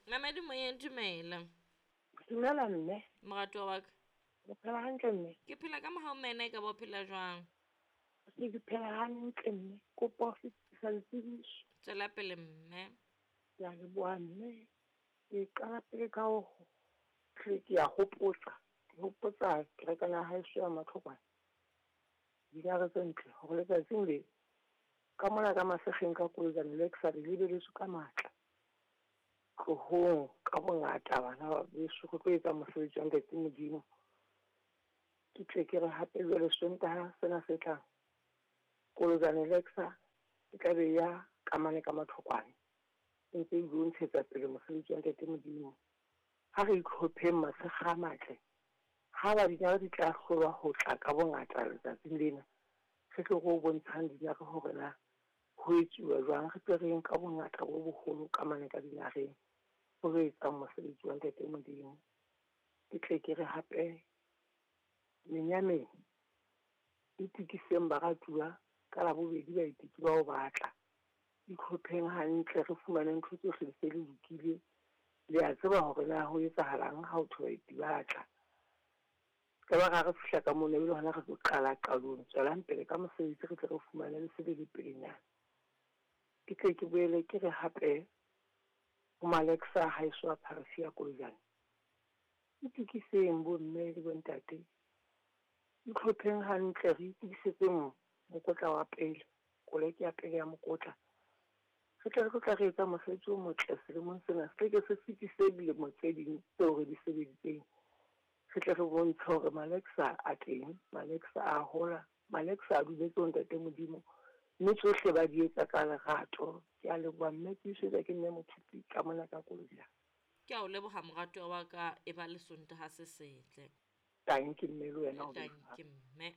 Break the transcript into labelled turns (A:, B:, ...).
A: Mamedi moyeng, dumela.
B: Dumela mme.
A: Moratuwa wa ka.
B: O phela hantle mme?
A: Ke phela ka mohau mme, e ka ba o phela jwang?
B: Se ke phela hantle mme. Kopa ho fetisa ditsebiso.
A: Tswela pele mme.
B: Ke a leboha mme. Ke qala pele ka ho hle ke a hopotsa. Ke hopotsa kerekana ya haeso ya Matlhokwana. Dinare tse ntle hore letsatsing le ka mona ka Masekgeng ka Kolojane Luxury le lebeletswe ka matla. Tlohong ka bongata bana ba beso re tlo etsa mosebetsi wa Ntate Modimo. Ke tle ke re hape jwale Sontaha sena se tlang Kolojane Lexa e tla be ya ka mane ka Matlhokwane e ntse e ilo ntshetsa pele mosebetsi wa Ntate Modimo. Ha re itlhopheng matshekga a matle, ha ba dinare di tla hlolwa ho tla ka bongata letsatsing lena, re tle re o bontshang dinare hore na ho etsuwa jwang, re tle re yeng ka bongata bo boholo ka mane ka dinareng ho lo etsang mosebetsi wa Ntate Modimo. Ke tle ke re hape menyameng itukiseng baratuwa ka Labobedi baeti ke bao ba tla. Itlhopheng hantle re fumane ntho tsohle di se di lokile. Le a tseba hore na ho etsahalang ha ho thwe baeti ba tla. Se ka ba ra re fihla ka mono ebile hona re tlo qala qalong. Tswelang pele ka mosebetsi re tle re fumane le se le le pelenyana. Ke tle ke boele ke re hape ho Malexa haeso a pharefi ya Kolojane. Itukiseng bomme le bontate. Itlhopheng hantle re itukisetseng mokotla wa pele, koleke ya pele ya mokotla. Re tle re tlo tla re etsa mosebetsi o motle selemong sena, se ke se fetise dilemo tse ding tseo re di sebeditseng. Re tle re bontshe hore Malexa a teng, Malexa a hola, Malexa a dumetse ho Ntate Modimo, mme tsohle ba di etsa ka lerato. Ke a leboha mme, ke iswetsa ke mme Mothupi ka mona ka Kolojane.
A: Ke a o leboha moratuwa wa ka, e ba le Sontaha se setle.
B: Tanki mme le wena o be
A: Tanki mme.